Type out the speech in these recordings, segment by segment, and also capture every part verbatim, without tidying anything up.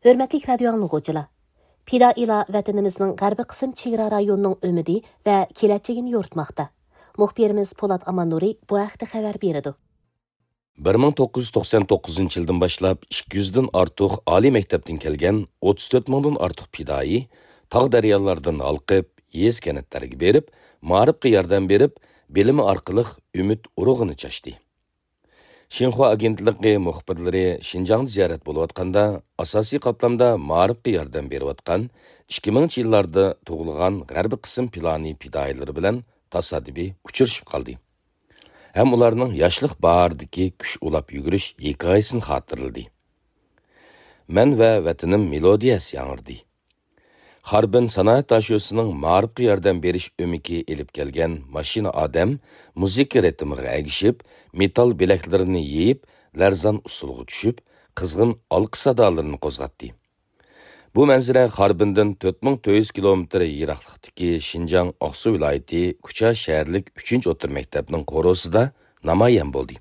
ھۆرمەتلىك رادىيو ئاڭلىغۇچىلار! پىدائىيلار ۋەتىنىمىزنىڭ غەربىي قىسىم چېگرا رايونىنىڭ ئۈمىدى ۋە كېلەچىكىنى يورۇتماقتا. مۇخبىرىمىز پولات ئاماننۇرى بۇ ھەقتە خەۋەر بېرىدۇ. بىر مىڭ توققۇز يۈز توقسان توققۇزىنچى يىلدىن باشلاپ ئىككى يۈزدىن ئارتۇق ئالىي مەكتەپتىن كەلگەن ئوتتۇز تۆت مىڭدىن ئارتۇق پىدائىي تاغ دەريالاردىن ھالقىپ، يېزا كەنتلەرگە بېرىپ، مائارىپقا ياردەم بېرىپ، بىلىمى ئارقىلىق ئۈمىد ئۇرۇغىنى چاچتى. شىنخۇا ئاگېنتلىقى مۇخبىرلىرى شىنجاڭدا زىيارەت بولۇۋاتقاندا، ئاساسىي قاتلامدا مائارىپقا ياردەم بېرىۋاتقان ئىككى مىڭىنچى يىللاردا تۇغۇلغان غەربىي قىسىم پىلانى پىدائىيلىرى بىلەن تاسادىپىي ئۇچرىشىپ قالدى ھەم ئۇلارنىڭ ياشلىق باھارىدىكى كۈچ ئۇلاپ يۈگۈرۈش ھېكايىسىنى خاتىرىلىدى. مەن ۋە ۋەتىنىم مېلودىيەسى ياڭرىدى. خاربىن سانائەت داشۆسىنىڭ مائارىپقا ياردەم بېرىش ئۆمىكى ئېلىپ كەلگەن ماشىنا ئادەم مۇزىكا رىتىمىغا ئەگىشىپ، مېتال بىلەكلىرىنى يېيىپ، لەرزان ئۇسسۇلغا چۈشۈپ، قىزغىن ئالقىش سادالىرىنى قوزغاتتى. بۇ مەنزىرە خاربىندىن تۆت مىڭ تۆت يۈز كىلومېتىر يىراقلىقتىكى شىنجاڭ ئاقسۇ ۋىلايىتى كۇچا شەھەرلىك ئۈچىنچى ئوتتۇرا مەكتەپنىڭ قورۇسىدا نامايان بولدى.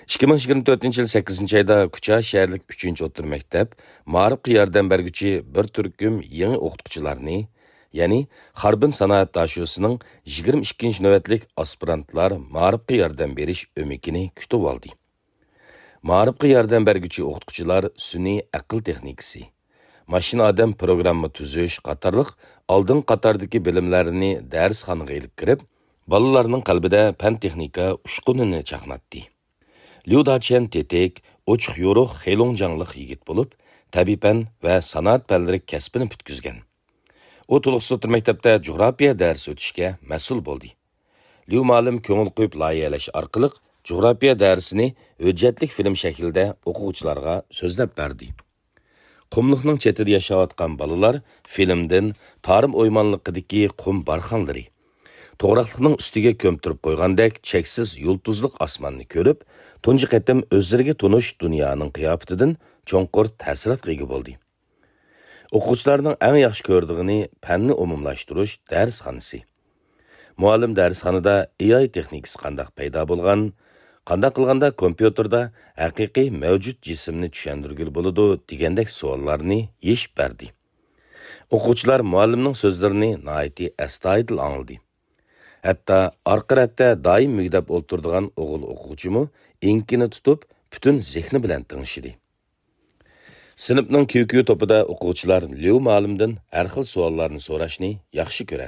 ئىككى مىڭ يىگىرمە تۆتىنچى يىل سەككىزىنچى ئايدا كۇچا شەھەرلىك ئۈچىنچى ئوتتۇرا مەكتەپ مائارىپقا ياردەم بەرگۈچى بىر تۈركۈم يېڭى ئوقۇتقۇچىلارنى، يەنى خاربىن سانائەت داشۆسىنىڭ يىگىرمە ئىككىنچى نۆۋەتلىك ئاسپىرانتلار مائارىپقا ياردەم بېرىش ئۆمىكىنى كۈتۈۋالدى. مائارىپقا ياردەم بەرگۈچى ئوقۇتقۇچىلار سۈنئىي ئەقىل تېخنىكىسى، ماشىنا ئادەم پروگرامما تۈزۈش قاتارلىق ئالدىنقى قاتاردىكى بىلىملەرنى دەرسخانىغا ئېلىپ كىرىپ، بالىلارنىڭ قەلبىدە پەن-تېخنىكا ئۇچقۇنىنى چاقناتتى. ليۇ داچيەن تېتىك، ئوچۇق-يورۇق، خېلۇڭجاڭلىق يىگىت بولۇپ، تەبىئىي پەن ۋە سانائەت پەنلىرى كەسپىنى پۈتكۈزگەن. ئۇ تولۇقسىز ئوتتۇرا مەكتەپتە جۇغراپىيە دەرسى ئۆتۈشكە مەسئۇل بولدى. ليۇ مۇئەللىم كۆڭۈل قويۇپ لايىھەلەش ئارقىلىق جۇغراپىيە دەرسىنى ھۆججەتلىك فىلىم شەكلىدە ئوقۇغۇچىلارغا سۆزلەپ بەردى. قۇملۇقنىڭ چېتىدە ياشاۋاتقان بالىلار فىلىمدىن تارىم ئويمانلىقىدىكى قۇم بارخانلىرى، توغراقلىقنىڭ ئۈستىگە كۆمتۈرۈپ قويغاندەك چەكسىز يۇلتۇزلۇق ئاسماننى كۆرۈپ، تۇنجى قېتىم ئۆزلىرىگە تونۇش دۇنيانىڭ قىياپىتىدىن چوڭقۇر تەسىراتقا ئىگە بولدى. ئوقۇغۇچىلارنىڭ ئەڭ ياخشى كۆرىدىغىنى پەننى ئومۇملاشتۇرۇش دەرسخانىسى. مۇئەللىم دەرسخانىدا ئېي ئاي تېخنىكىسى قانداق پەيدا بولغان، قانداق قىلغاندا كومپيۇتېردا ھەقىقىي مەۋجۇت جىسىمنى چۈشەندۈرگىلى بولىدۇ دېگەندەك سوئاللارنى يېشىپ بەردى. ئوقۇغۇچىلار مۇئەللىمنىڭ سۆزلىرىنى ناھايىتى ئەستايىدىل ئاڭلىدى. ھەتتا ئارقا رەتتە دائىم مۈگدەپ ئولتۇرىدىغان ئوغۇل ئوقۇغۇچىمۇ ئېڭىكىنى تۇتۇپ، پۈتۈن زېھنى بىلەن تىڭشىدى. سىنىپنىڭ كيۇ كيۇ توپىدا ئوقۇغۇچىلار ليۇ مۇئەللىمدىن ھەر خىل سوئاللارنى سوراشنى ياخشى كۆرەتتى.